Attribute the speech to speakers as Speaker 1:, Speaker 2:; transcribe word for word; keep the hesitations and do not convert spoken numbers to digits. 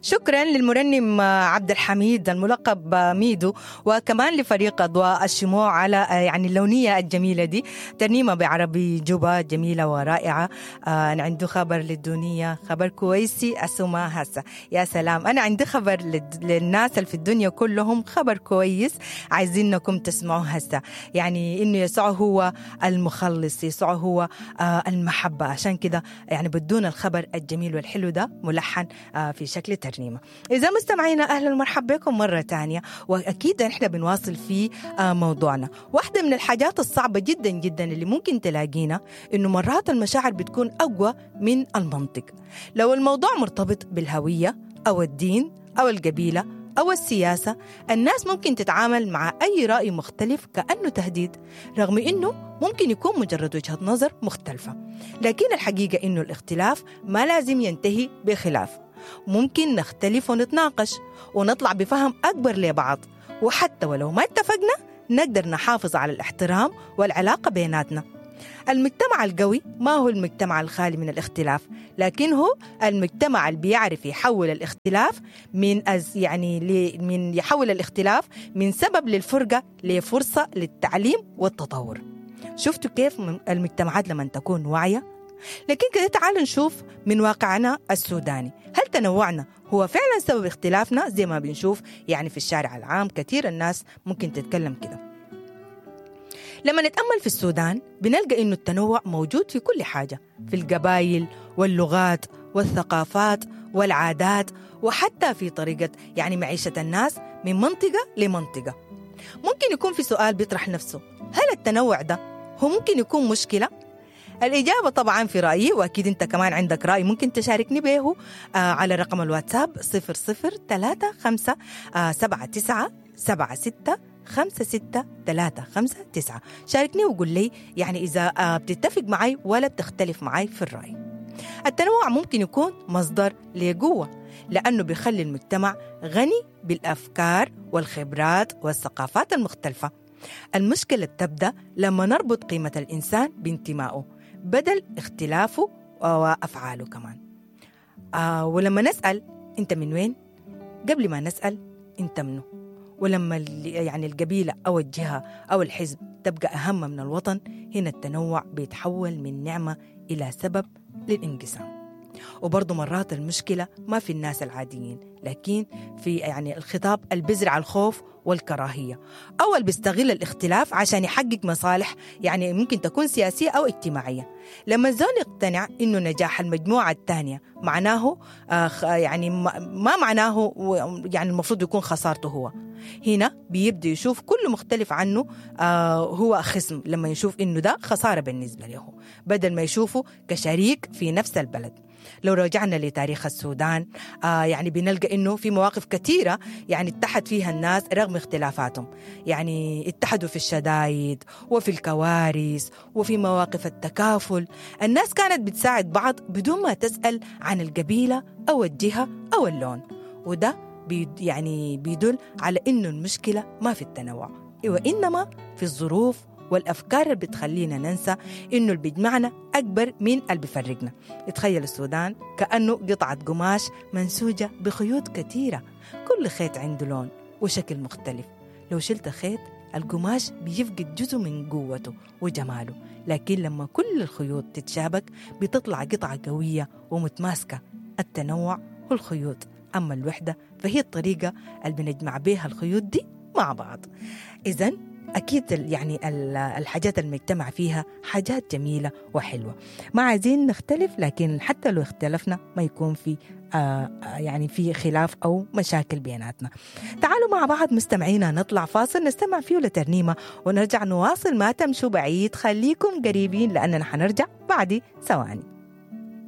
Speaker 1: شكرا للمرنم عبد الحميد الملقب ميدو، وكمان لفريق أضواء الشموع على يعني اللونية الجميلة دي، ترنيمة بعربي جوبا جميلة ورائعة. أنا عندي خبر للدنيا، خبر كويسي أسمع هسه. يا سلام، أنا عندي خبر للناس اللي في الدنيا كلهم، خبر كويس عايزينكم تسمعوه هسه، يعني إنه يسوع هو المخلص، يسوع هو المحبة. عشان كده يعني بدون الخبر الجميل والحلو ده ملحن في شكل ترنيمة. إذا مستمعينا أهلا ومرحبا بكم مرة تانية، وأكيد نحن بنواصل في موضوعنا. واحدة من الحاجات الصعبة جدا جدا اللي ممكن تلاقينا إنه مرات المشاعر بتكون أقوى من المنطق. لو الموضوع مرتبط بالهوية أو الدين أو القبيلة أو السياسة، الناس ممكن تتعامل مع أي رأي مختلف كأنه تهديد، رغم إنه ممكن يكون مجرد وجهة نظر مختلفة. لكن الحقيقة إنه الاختلاف ما لازم ينتهي بخلاف، ممكن نختلف ونتناقش ونطلع بفهم أكبر لبعض، وحتى ولو ما اتفقنا نقدر نحافظ على الاحترام والعلاقة بيناتنا. المجتمع القوي ما هو المجتمع الخالي من الاختلاف، لكن هو المجتمع اللي بيعرف يحول الاختلاف من أز يعني من يحول الاختلاف من سبب للفرقة لفرصة للتعليم والتطور. شفتوا كيف المجتمعات لما تكون واعية؟ لكن كده تعالوا نشوف من واقعنا السوداني، هل تنوعنا هو فعلا سبب اختلافنا زي ما بنشوف يعني في الشارع العام كثير الناس ممكن تتكلم كده؟ لما نتأمل في السودان بنلقى إنه التنوع موجود في كل حاجة، في القبائل واللغات والثقافات والعادات، وحتى في طريقة يعني معيشة الناس من منطقة لمنطقة. ممكن يكون في سؤال بيطرح نفسه، هل التنوع ده هو ممكن يكون مشكلة؟ الإجابة طبعا في رأيي، وأكيد أنت كمان عندك رأي ممكن تشاركني به آه على رقم الواتساب صفر صفر ثلاثة خمسة سبعة تسعة سبعة ستة خمسة ستة ثلاثة خمسة تسعة. شاركني وقول لي يعني إذا بتتفق معي ولا بتختلف معي في الرأي. التنوع ممكن يكون مصدر لقوة، لأنه بيخلي المجتمع غني بالأفكار والخبرات والثقافات المختلفة. المشكلة تبدأ لما نربط قيمة الإنسان بانتمائه بدل اختلافه وأفعاله كمان. آه ولما نسأل أنت من وين قبل ما نسأل أنت منه، ولما يعني القبيلة أو الجهة أو الحزب تبقى أهم من الوطن، هنا التنوع بيتحول من نعمة إلى سبب للانقسام. وبرضو مرات المشكلة ما في الناس العاديين، لكن في يعني الخطاب اللي بيزرع الخوف والكراهية، أو اللي بيستغل الاختلاف عشان يحقق مصالح يعني ممكن تكون سياسية أو اجتماعية. لما الزول يقتنع إنه نجاح المجموعة الثانية معناه آه يعني ما معناه يعني المفروض يكون خسارته هو، هنا بيبدأ يشوف كل مختلف عنه آه هو خصم، لما يشوف إنه ده خسارة بالنسبة له بدل ما يشوفه كشريك في نفس البلد. لو رجعنا لتاريخ السودان آه يعني بنلقى إنه في مواقف كثيرة يعني اتحد فيها الناس رغم اختلافاتهم، يعني اتحدوا في الشدايد وفي الكوارث وفي مواقف التكافل. الناس كانت بتساعد بعض بدون ما تسأل عن القبيلة أو الجهة أو اللون، وده بي يعني بيدل على إنه المشكلة ما في التنوع، وإنما في الظروف والأفكار اللي بتخلينا ننسى إنه اللي بيجمعنا أكبر من اللي بيفرقنا. تخيل السودان كأنه قطعة قماش منسوجة بخيوط كثيرة، كل خيط عنده لون وشكل مختلف. لو شلت خيط القماش بيفقد جزء من قوته وجماله، لكن لما كل الخيوط تتشابك بتطلع قطعة قوية ومتماسكة. التنوع هو الخيوط، أما الوحدة فهي الطريقة اللي بنجمع بيها الخيوط دي مع بعض. إذن أكيد يعني الحاجات المجتمع فيها حاجات جميلة وحلوة، ما عايزين نختلف، لكن حتى لو اختلفنا ما يكون في آه يعني في خلاف أو مشاكل بيناتنا. تعالوا مع بعض مستمعينا نطلع فاصل نستمع فيه لترنيمة ونرجع نواصل. ما تمشوا بعيد، خليكم قريبين لأننا حنرجع بعد ثواني.